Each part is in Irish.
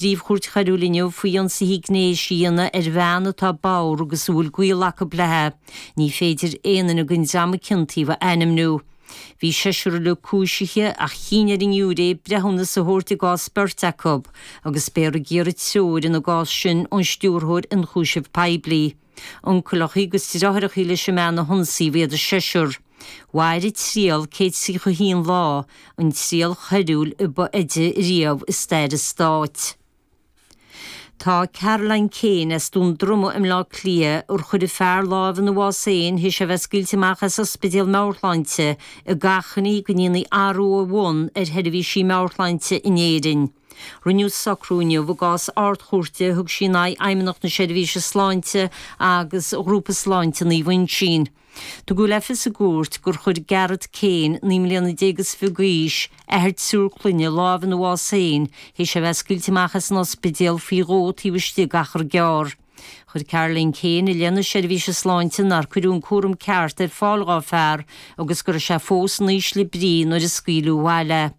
bPríomh-Chúirt Choiriúil inniu faoi ionsaithe gnéis a dhéanamh ar bhean atá bodhar agus a bhfuil gaol acu léi. Ní féidir aon duine den dream a ciontaíodh a ainmniú. Bhí seisear uilig cúisithe ach chinn ar an ngiúiré breithiúnas a thabhairt i gcás beirt acu agus beifear ag iarraidh treoir ina gcás sin ón Stiúrthóir Ionchúiseamh Poiblí. Uncaileacha agus deartháireacha leis an mbean a hionsaíodh iad an seisear. Mhair an triail 131 lá, an triail choiriúil a ba fhaide riamh i stair an stáit. Tá Caroline Kane as Dún Droma i mBleá Cliath, ar chuir a fear lámh ina bhás féin théis é a bheith scaoilte amach as ospidéal meabhairshláinte, ag achainí go ndéanfaí athrú ó bhun ar sheirbhísí meabhairshláinte in Éirinn. Rinneadh socrú inniu i gcás Ard-Chúirte a thug sí in aghaidh Fheidhmeannacht na Seirbhíse Sláinte agus Ghrúpa Sláinte Naomh Uinseann. Tugadh le fios i gcúirt gur chuir Gareth Kane, 19 mbliana is fiche d'aois, athair triúr clainne, lámh ina bhás féin théis é a bheith scaoilte amach as an ospidéal faoi dhó taobh istigh d'achar gearr. Chuir Caroline Kane i leith na seirbhíse sláinte nár cuireadh an cúram ceart ar fáil dhá fear agus go raibh sé fós in ísle brí nuair a scaoileadh abhaile é.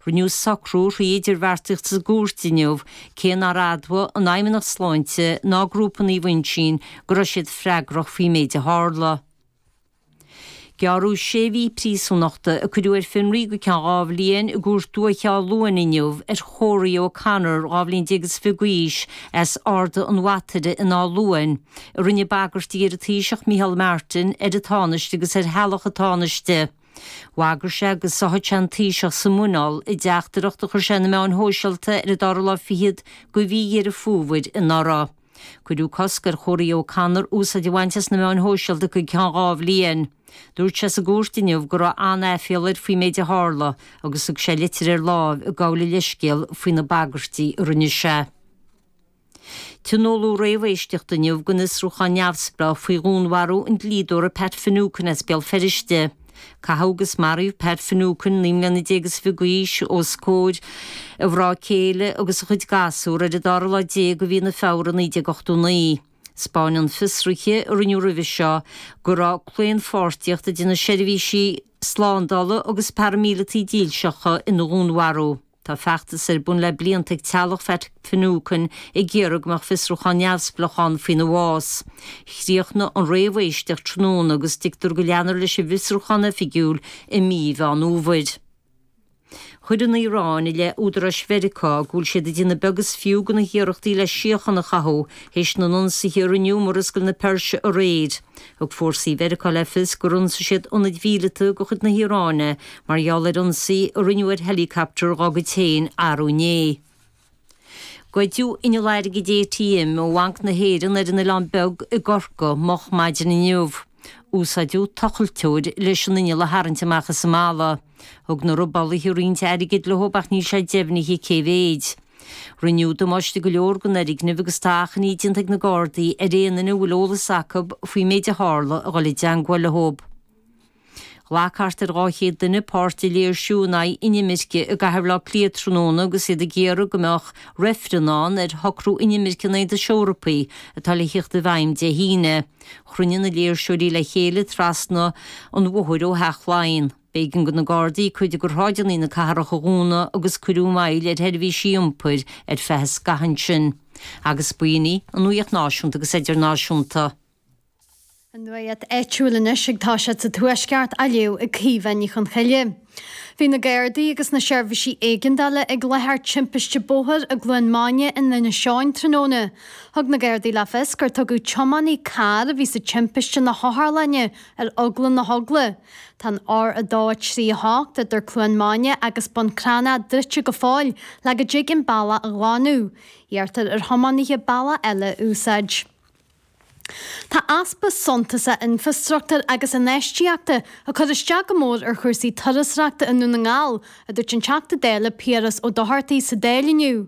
Rinneadh socrú thrí idirbheartaíocht sa gcúirt inniu, cé nár admhaigh an Fheidhmeannacht Sláinte ná Grúpa Naomh Uinseann go raibh siad freagrach faoin méid a tharla. Gearradh sé mhí príosúnachta, a cuireadh ar fionraí go ceann 2 bhliain, i gCúirt Dúiche Áth Luain inniu ar Chóraí O'Connor, 12 bhliain is fiche d'aois, as Ard an Bhataire in Áth Luain, a rinne bagairtí ar an Taoiseach Micheál Martin, ar an Tánaiste agus ar theaghlach an Tánaiste. Bhagair sé go sáfadh sé an Taoiseach sa muineál i dteachtaireacht a chuir sé ar na meáin shóisialta ar an dara lá fichead de mhí Dheireadh Fómhair anuraidh. Cuireadh cosc ar Chóraí O'Connor úsáid a bhaint as na meáin shóisialta go ceann 2 bhliain. Dúirt sé sa gcúirt inniu go raibh an-aiféala air faoin méid a tharla agus thug sé litir ar láimh ag gabháil a leithscéil faoi na bagairtí a rinne sé. Tionóladh réamhéisteacht inniu den fhiosrúchán neamhspleách faoi dhúnmharú an dlíodóra Pat Finucane as Béal Feirste. Caitheadh agus maraíodh Pat Finucane, 19 mbliana is fiche d'aois, os comhair a mhná céile agus a chuid gasúr ar an dara lá déag de mhí na Feabhra 1989. 'Spáineann fiosruithe a rinneadh roimhe seo go raibh claonpháirtíocht idir na seirbhísí slándála agus paraimíleataigh dílseacha ina dhúnmharú. Tá feachtas ar bun le blianta ag teaghlach Phat Finucane ag iarraidh go mbeadh fiosrúchán neamhspleách ann faoina bhás. Chríochnaigh an réamhéisteacht tráthnóna agus tuigtear go leanfar leis an bhfiosrúchán oifigiúil i mí Mheán Fhómhair. Chuir an Iaráin i leith údaráis Mheiriceá go bhfuil siad ag déanamh beag is fiú de na hiarrachtaí le síocháin a chothú théis na n-ionsaithe a rinneadh i Murascaill na Peirse aréir. Thug fórsaí Mheiriceá le fios gur ionsaigh siad ionaid mhíleata de chuid na hIaráine mar gheall ar ionsaí a rinneadh ar heileacaptar dá gcuid féin arú inné. Goideadh inneall airgid ATM ó Bhanc na hÉireann ar an Oileán Beag i gCorcaigh moch maidin inniu. Úsáideadh tochailteoir leis an inneall a tharraingt amach as an mballa. Thug na robálaithe roinnt airgid leo ach níl sé deimhnithe cé mhéid. Rinneadh damáiste go leor don fhoirgneamh agus tá achainí déanta ag na Gardaí ar aon duine a bhfuil eolas acu faoin méid a tharla a dhul i dteangmháil leo. Ghlac thart ar 200 duine páirt i léirsiú in aghaidh inimirce i gcathair Bhaile Átha Cliath tráthnóna agus iad ag iarraidh go mbeadh reifreann ann ar shocrú inimirce an Aontais Eorpaigh atá le theacht i bhfeidhm Dé hAoine. Chruinnigh na léirseoirí le chéile trasna an bhóthair ó Theach Laighean. B'éigean do na Gardaí cuid de shráideanna na cathrach a dhúnadh agus cuireadh moill ar sheirbhísí iompair ar feadh scaithimh ansin. Agus b'in í an nuacht náisiúnta agus idirnáisiúnta. An nuacht áitiúil anois ag toiseacht sa Tuaisceart á léamh ag Caoimhe Ní Chonchoille. Bhí na Gardaí agus na seirbhísí éigeandála ag láthair timpiste bóthair i gCluain Maine in Inis Eoghain tráthnóna. Thug na Gardaí le fios gur tugadh tiománaí cairr a bhí sa timpiste na hotharlainne ar eagla na heagla. Tá an R2 3 8 idir Cluain Maine agus Bun Cranncha druidte go fóill le go dtig an bealach a ghlanadh. Iarrtar ar thiománaithe bealach eile a úsáid. Tá easpa suntasach infreastruchtúir agus infheistíochta ag cur isteach go mór ar chúrsaí turasóireachta i nDún na nGall, a dúirt an Teachta Dála Piaras Ó Dochartaigh sa Dáil inniu.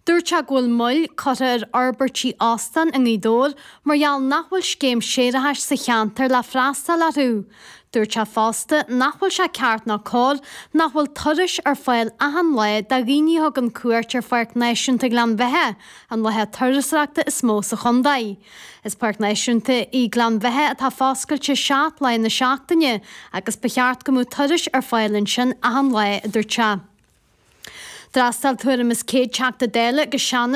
Dúirt sé go bhfuil moill curtha ar fhorbairtí óstán i nGaoth Dobhair mar gheall nach bhfuil scéim séarachais sa cheantar le freastal orthu. Dúirt sé fosta nach bhfuil sé ceart ná cóir nach bhfuil turais ar fáil achan lá do dhaoine a thugann cuairt ar Pháirc Náisiúnta Ghleann Bheatha, an láthair turasóireachta is mó sa chontae. Is páirc náisiúnta í Gleann Bheatha atá foscailte 7 lá na seachtaine agus ba cheart go mbeadh turais ar fáil ansin achan lá, a dúirt sé. D'fhreastail tuairim is 100 Teachta Dála agus Seanadóir.